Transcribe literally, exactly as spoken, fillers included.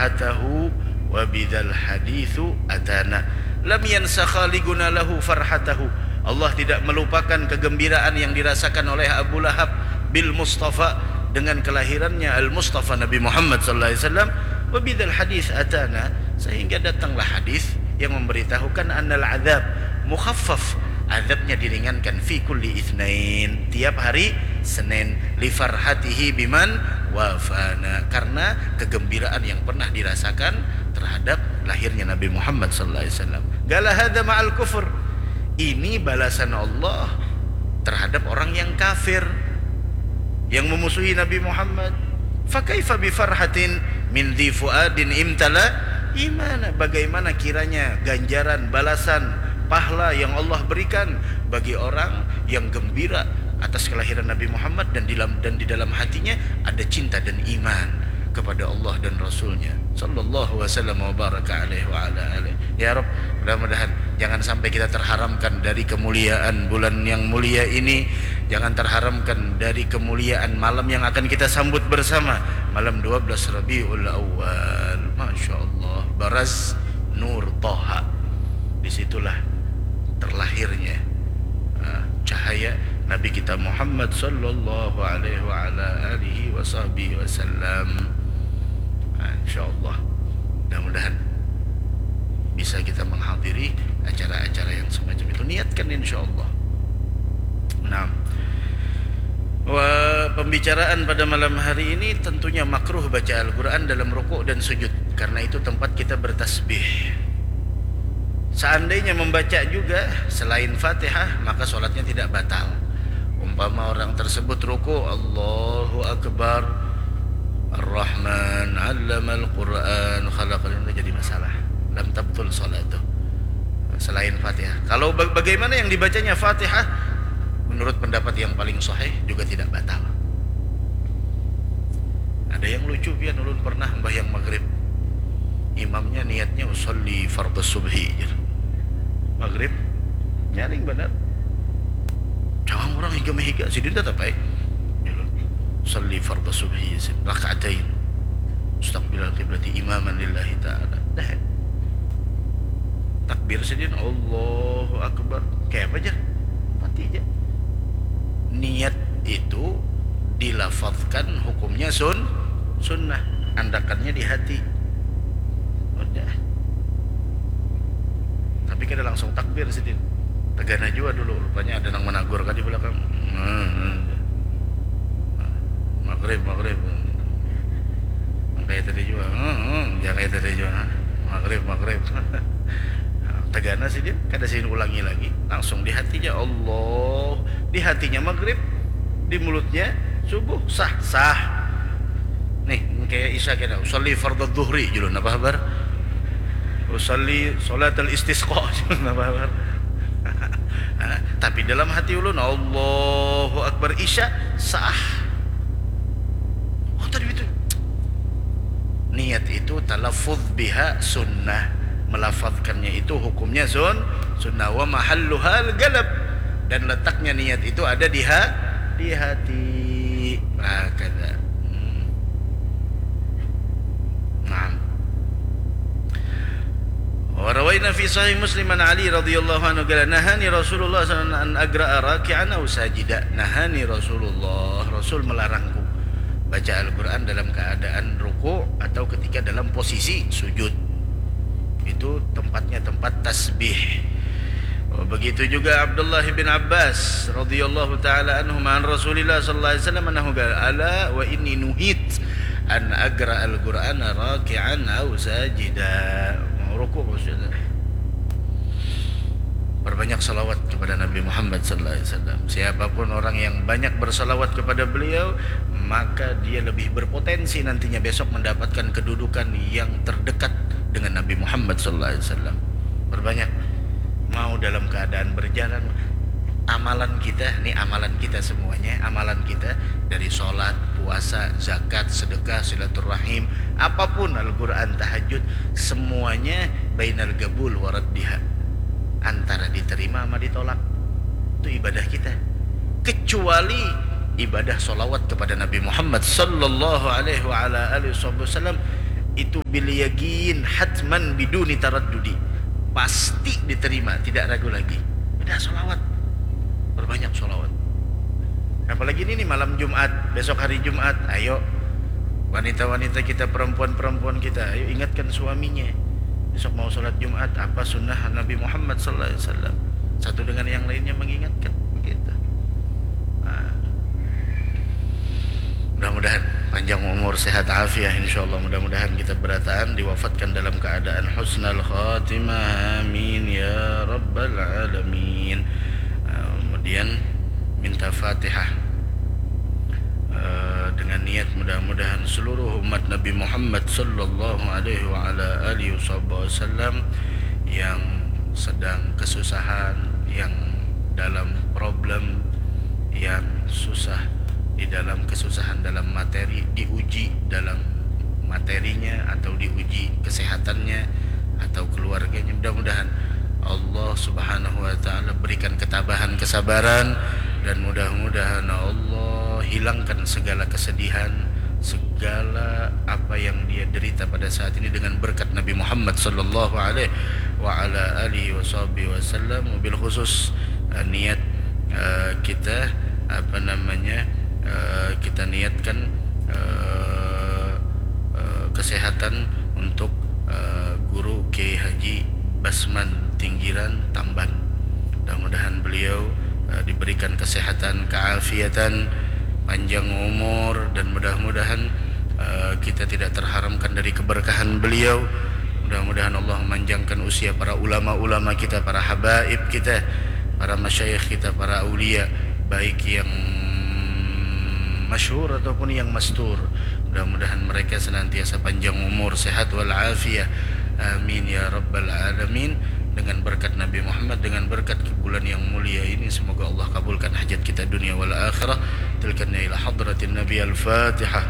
atahu wa bidzal haditsu atana. Lam yansa khaliquna lahu farhatahu. Allah tidak melupakan kegembiraan yang dirasakan oleh Abu Lahab bil Mustafa, dengan kelahirannya Al Mustafa Nabi Muhammad sallallahu alaihi wasallam, wa bidzal hadits atana, sehingga datanglah hadis yang memberitahukan annal adzab mukhaffaf, azabnya diringankan fi kulli itsnain, tiap hari Senin, li farhatihi biman wafana, karena kegembiraan yang pernah dirasakan terhadap lahirnya Nabi Muhammad sallallahu alaihi wasallam. Qala hadza ma'al kufr, ini balasan Allah terhadap orang yang kafir, yang memusuhi Nabi Muhammad. Fakaifa bi farhatin min dzi fuadin imtala imana, bagaimana kiranya ganjaran, balasan, pahla yang Allah berikan bagi orang yang gembira atas kelahiran Nabi Muhammad dan di dalam, dan di dalam hatinya ada cinta dan iman kepada Allah dan Rasulnya, sallallahu wasallam wa baraka alaihi wa ala alihi. Ya Rabb, mudah-mudahan jangan sampai kita terharamkan dari kemuliaan bulan yang mulia ini, jangan terharamkan dari kemuliaan malam yang akan kita sambut bersama, malam dua belas Rabiul Awal. Masya Allah, baraz nur Toha. Disitulah terlahirnya, ah, cahaya Nabi kita Muhammad sallallahu alaihi wa ala alihi wa sahbihi wasallam. Ah, insya Allah, mudah-mudahan bisa kita menghadiri acara-acara yang semacam itu. Niatkan, insya Allah. Nah, wa-, pembicaraan pada malam hari ini tentunya makruh baca Al-Quran dalam rukuk dan sujud, karena itu tempat kita bertasbih. Seandainya membaca juga selain Fatihah, maka sholatnya tidak batal. Umpama orang tersebut ruku, Allahu Akbar, Ar-Rahman, Allamal Quran, Khalaqal, itu jadi masalah. Lam tabtul sholatuh. Selain Fatihah. Kalau ba-, bagaimana yang dibacanya Fatihah, menurut pendapat yang paling sahih juga tidak batal. Ada yang lucu pian, ulun pernah sembahyang maghrib. Imamnya niatnya usolli fardhu subhi, jar. Maghrib, nyaring banar. Cangam urang higa mahiga, sidin tatap ai. Usolli fardhu subhi, sidin, rakaatain. Mustaqbilal qiblati imaman lillahi ta'ala. Dah. Takbir sidin, Allahu Akbar. Kaya apa, jar? Mati ja. Niat itu dilafazkan hukumnya sun-, sunnah. Andakannya di hati. Udah. Tapi kada langsung takbir sidin. Tagana jua dulu, rupanya ada nang managur ka di balakang. Hmm, hmm. Maghrib, maghrib. Nang kaya tadi jua. Hmm, hmm, ya kaya tadi jua. Maghrib, maghrib. Tagana sidin, kada sidin ulangi lagi. Langsung di hati ja, Allah. Di hatinya maghrib, di mulutnya subuh, sah, sah. Nih, kaya isya kena, usalli fardhu dhuhri, julun, apa habar? Usalli sholatal istisqa, julun, apa habar? Nah, tapi dalam hati ulun, Allahu Akbar, isya, sah. Oh, tadi itu. Niat itu talaffuz biha sunnah. Melafazkannya itu hukumnya sun-, sunnah. Wa mahalluhal qalb. Dan letaknya niat itu ada di ha-, di hati. Hakadha. Hmm. Naam. Wa rawaina fi sahih Muslim an Ali radhiyallahu anhu qala, "Nahani Rasulullah sallallahu alaihi wasallam an agra'a raki'an aw sajida." Nahani Rasulullah, Rasul melarangku baca Al-Quran dalam keadaan ruku atau ketika dalam posisi sujud. Itu tempatnya tempat tasbih. Begitu juga Abdullah bin Abbas radhiyallahu taala anhuma an Rasulillah sallallahu alaihi wasallam annahu qala, "Ala wa inni nuhit an aqra al-Qur'ana raki'an aw sajida." Mau rukuk maksudnya. Perbanyak salawat kepada Nabi Muhammad sallallahu alaihi wasallam. Siapapun orang yang banyak bersalawat kepada beliau, maka dia lebih berpotensi nantinya besok mendapatkan kedudukan yang terdekat dengan Nabi Muhammad sallallahu alaihi wasallam. Perbanyak, mau dalam keadaan berjalan, amalan kita, ini amalan kita semuanya, amalan kita dari sholat, puasa, zakat, sedekah, silaturahim, apapun, Al-Quran, tahajud, semuanya bainal qabul wa raddiha, antara diterima sama ditolak. Itu ibadah kita. Kecuali ibadah sholawat kepada Nabi Muhammad sallallahu alaihi wa ala alihi wasallam, itu bil yakin, hatman biduni taraddudi, pasti diterima, tidak ragu lagi. Udah sholawat, perbanyak sholawat. Apalagi ini nih malam Jumat, besok hari Jumat, ayo wanita-wanita kita, perempuan-perempuan kita, ayo ingatkan suaminya. Besok mau sholat Jumat, apa sunnah Nabi Muhammad sallallahu alaihi wasallam. Satu dengan yang lainnya mengingatkan begitu. Nah, mudah-mudahan panjang umur, sehat afiah, insyaallah. Mudah-mudahan kita berataan diwafatkan dalam keadaan husnal khatimah, amin ya rabbal alamin. Ah, kemudian minta fatihah, eh, dengan niat mudah-mudahan seluruh umat Nabi Muhammad sallallahu alaihi wa ala alihi wasallam yang sedang kesusahan, yang dalam problem, yang susah di dalam kesusahan dalam materi, diuji dalam materinya atau diuji kesehatannya atau keluarganya. Mudah-mudahan Allah Subhanahu wa Ta'ala berikan ketabahan, kesabaran, dan mudah-mudahan Allah hilangkan segala kesedihan, segala apa yang dia derita pada saat ini dengan berkat Nabi Muhammad sallallahu alaihi wa ala alihi wasallam. Wabil khusus, eh, niat, eh, kita, apa namanya, eh, kita niatkan, eh, eh, kesehatan untuk, eh, Guru Kiai Haji Basman Tinggiran Tamban. Mudah-mudahan beliau, eh, diberikan kesehatan, keafiatan, panjang umur, dan mudah-mudahan, eh, kita tidak terharamkan dari keberkahan beliau. Mudah-mudahan Allah memanjangkan usia para ulama-ulama kita, para habaib kita, para masyayikh kita, para aulia, baik yang masyhur ataupun yang mastur. Mudah-mudahan mereka senantiasa panjang umur, sehat wal afiah. Amin ya rabbal alamin. Dengan berkat Nabi Muhammad, dengan berkat bulan yang mulia ini, semoga Allah kabulkan hajat kita dunia wal akhirah. Tilkanya ila hadratin Nabi, al-Fatihah.